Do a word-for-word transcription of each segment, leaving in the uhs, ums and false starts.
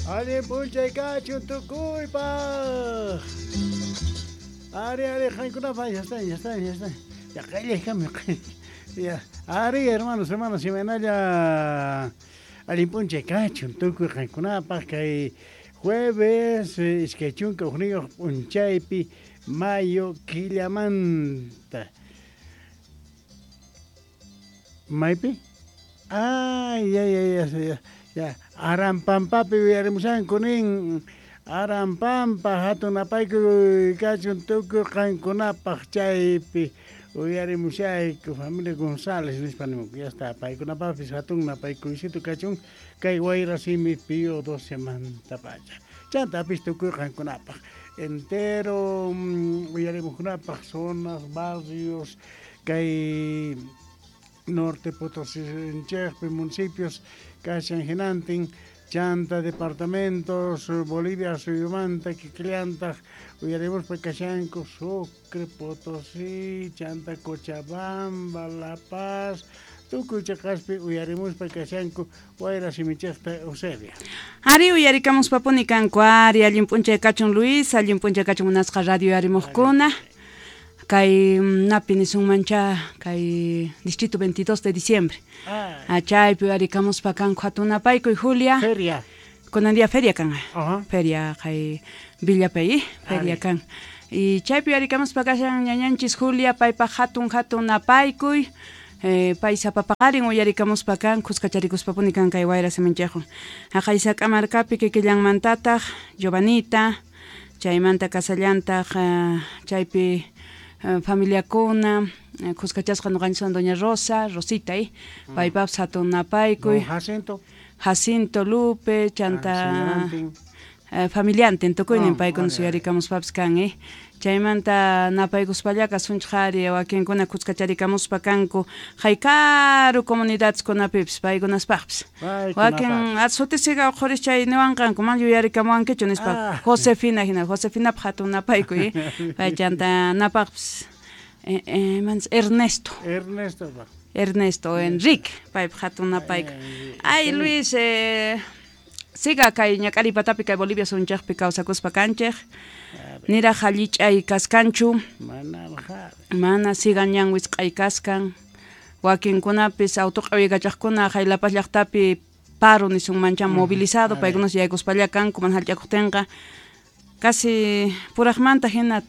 Allin p'unchay kachun tukuypaq. Ari, ari, qankunapaq, ya está, ya está, ya está. Ya qillay Ya, ari, hermanos, hermanas, imaynalla allin p'unchay kachun tukuy qankunapaq kay jueves iskay chunka hukniyuq p'unchaypi mayo killamanta. Maypi? Ay, ya, ya, ya, ya, ya. Arampampapi uyarimushanku nin. Arampampa hatun napaykuy kachun tukuy qankunapaq chaypi uyarimushayku familia González nispa nimunku. Ya está, paykunapaqpis hatun napaykuysitu kachun kay Wayra Simi Pío doce mantapacha. Chantapis tukuy qankunapaq entero uyarimuqkunapaq zonas, barrios, kay Norte Potosí, municipios, kashan hinantin, chanta departamentos, Bolivia, suyumanta, kikillantaq, uyarimuspa kashanku, Sucre, Potosí, chanta Cochabamba, La Paz, tukuy chaqaspi uyarimuspa kashanku, Wayra Simichaqta Eusebia. Ari uyarikamuspapuni kanku, ari allin p'unchay kachun Luis, allin p'unchay kachun munasqa radio uyarimuqkuna. Kay napi nisunmancha kay distrito veintidós de diciembre. Ah. Chaypi uyarikamuspa kanku hatun napaykuy Julia. Feria. Kunan día feria kan. Uh-huh. Feria kay Villapay, feria kan. Y chaypi uyarikamuspa kashan ñañanchis Julia paypaq hatun hatun napaykuy. Eh, pay sapapaqarin uyarikamuspa kan kuskacharikuspapuni kan kay Wayra Siminchaywan. Haqay Sac'amarkapi kikillanmantataq Giovanita, chaymanta kasallantaq uh, chaypi Uh, familiakuna, uh, kuskachasqa ñuqanchiswan doña Rosa, Rosita, eh? Mm. Paypapas hatun napaykuy. Don Jacinto. Jacinto Lupe, chanta ah, uh, familiantin tukuynin oh, paykunas uyarikamuspapis kan, eh? Chaymanta napaykuspalla kasunchik ari wakinkuna kuskacharikamuspa kanku haykaru comunidadkunapipis paykunaspaqpis. Wakin atsutisika uqhuris chay niwanqanku man yuyarikamuwankichu nispa ah. Josefina hina Josefinapaq hatun napaykuy, eh? Pay chanta napaqpis eh, eh, mans Ernesto. Ernesto. Ernesto Enrique paypaq hatun napaykuy. Ay Luis, eh, siga kay ñak'ariy patapi kay Bolivia sunchaqpi kawsakuspa kanchik. Niraq hallich'ay kaskanchu. Mana siga ñan wisq'ay kaskan. Wakinkunapis autoq'awiykachaqkuna hay La Paz llaqtapi paro nisunmancha movilizado paykunas yaykuspalla kanku mana hallch'akuqtinqa casi puraqmanta hina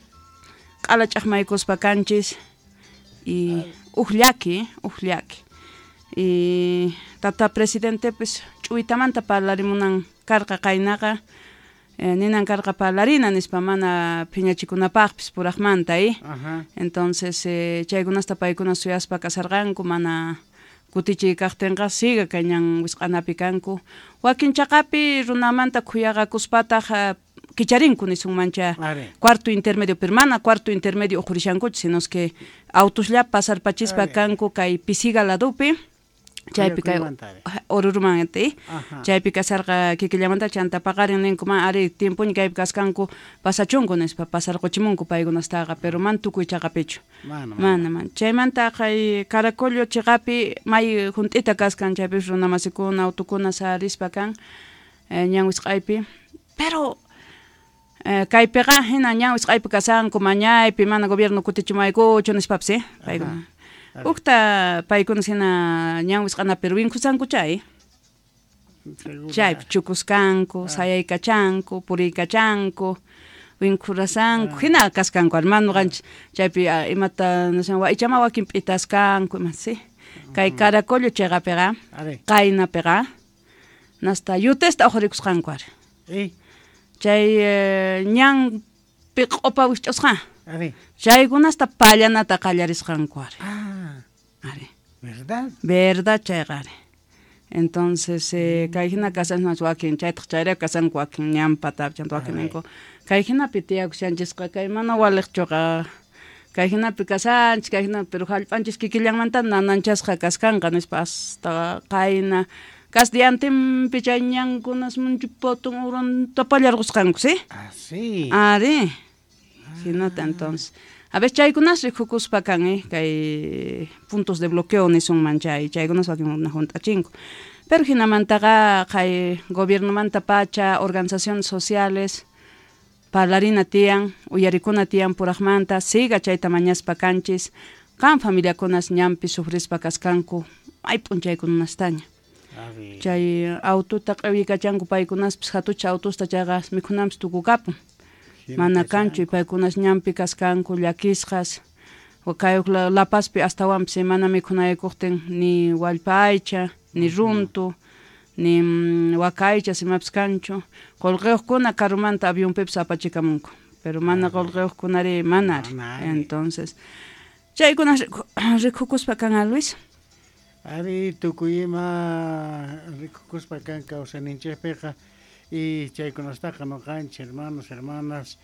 q'ala ch'aqmaykuspa kanchis y uj llaki, uj llaki. Y tata presidentepis ch'uytamanta parlarimunan karqa qaynaqa eh, ninan karqa parlarina nispa mana phiñachikunapaqpis puraqmanta, eh? Ajá. Entonces eh, chaykunasta paykuna suyaspa kasarqanku mana kutichiy kaqtinqa siga kay ñan wisq'anapi kanku. Wakin chaqapi runamanta khuyaqakuspataq uh, kicharinku nisunmancha cuarto intermedio, pero mana cuarto intermedio uqhurishankuchu, sino es que autoslla pasarpachispa kanku kay pisiga ladupi. Chaypi kay Oruruman eh? Chaypi kasarqa kikillamanta chanta paqarin ninku man ari tiempoña kaypi kaskanku pasachunku nispa pasarquchimunku paykunastaqa pero man tukuy chaqapichu. Mana, mana man. Chaymanta kay Caracollo chiqapi may junt'ita kaskan chaypis runamasikuna autukuna sarispa kan eh, ñan wisq'aypi. Pero eh, kaypiqa hina ñan wisq'aypi kasanku mañaypi mana gobierno kutichimaykuchu nispapis, eh? Paykuna. Ukta paykunas hina ñan wisq'anapi winkusanku chay. Chaypi chukuskanku, sayaykachanku, puriykachanku, winkhurasanku, hina kaskanku hermano ñuqanchik chaypi imata nishan ichama wakin p'itaskanku ima sí. Kay Caracollo chayqapiqa, qaynapiqa, nasta yutesta uqhurikusqanku ari. Chay ñanpi q'upa wisch'usqa. Chaykunasta pallanata qallarisqanku ari. Ah. Ari. ¿Verdad? Verdad chayqa ari. Entonces, eh, kay hina kasasnas wakin chaytaq chayrayku kasanku wakin ñan patapi chanta wakin ninku. Kay hinapi tiyakushanchisqa kay mana waliqchuqa kay hinapi kasanchis kay hinapi pero hallp'anchis kikillanmanta nananchasqa kaskanqa nispa hasta qayna kasdiantinpi chay ñankunas munchu potun uranta pallarqusqanku, ¿sí? Ah, sí. Ari. Hinata entonces. A ver, chaykunas rikukuspa kan, eh, kay puntos de bloqueo nisunman chay, chaykunas wakin hunt'achinku. Pero jinamantaqa kay gobiernomanta pacha, organizaciones sociales, parlarina tiyan, uyarikuna tiyan purajmanta, siga chayta mañaspa kanchis, qan familiakunas ñanpi sufrispa kaskanku, may p'unchaykunastaña. Chay autota q'iwikachanku paykunaspis hatucha autosta chayqa mikhunanpis tukukapun. Mana kanchu paykunas ñanpi kaskanku llakisqas, kay La Pazpi astawanpis mana mikhunaykuqtin ni wallpa aycha, ni runtu, ni waka aycha imapis kanchu. Qullqiyuqkuna karumanta avionpipis apachikamunku, pero mana qullqiyuqkunari mana ari. Entonces, chaykuna rikukuspa kan Luis. Ari tukuy ima rikukuspa kan kawsayninchikpiqa y chaykunastaqa noqanchik hermanos, hermanas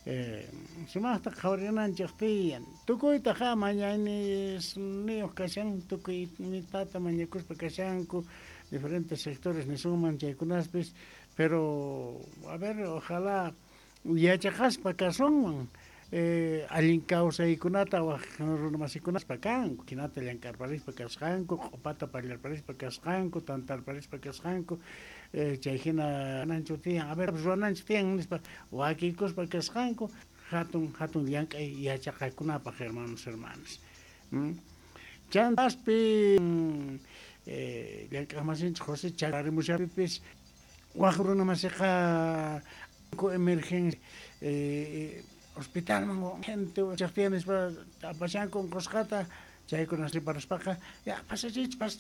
eh, sumaqta qhawarinanchik tiyan. Tukuytaqa mañaynisniyuq kashan, tukuy mitata mañakuspa kashanku diferentes sectores nisunman chaykunaspis, pero a ver, ojalá yachaqaspa kasunman eh, allin kawsaykunata waj runamasikunaspa kanku, hinata llank'arparispa kasqanku, q'upata pallarparispa kasqanku, tantarparispa kasqanku, eh, chay hina nanchu tiyan, a ver, ruwananchik tiyan nispa wakiykuspa kasqanku, hatun hatun llank'ay yachaqakunapaq hermanos, hermanas. ¿Mm? Chantaspi eh, llank'aqmasinchik José charimushapipis waj runamasiqa emergencia eh, hospitalman gente chaqtiyan nispa apashanku unqusqata chaykunas riparaspaqa ya pasachich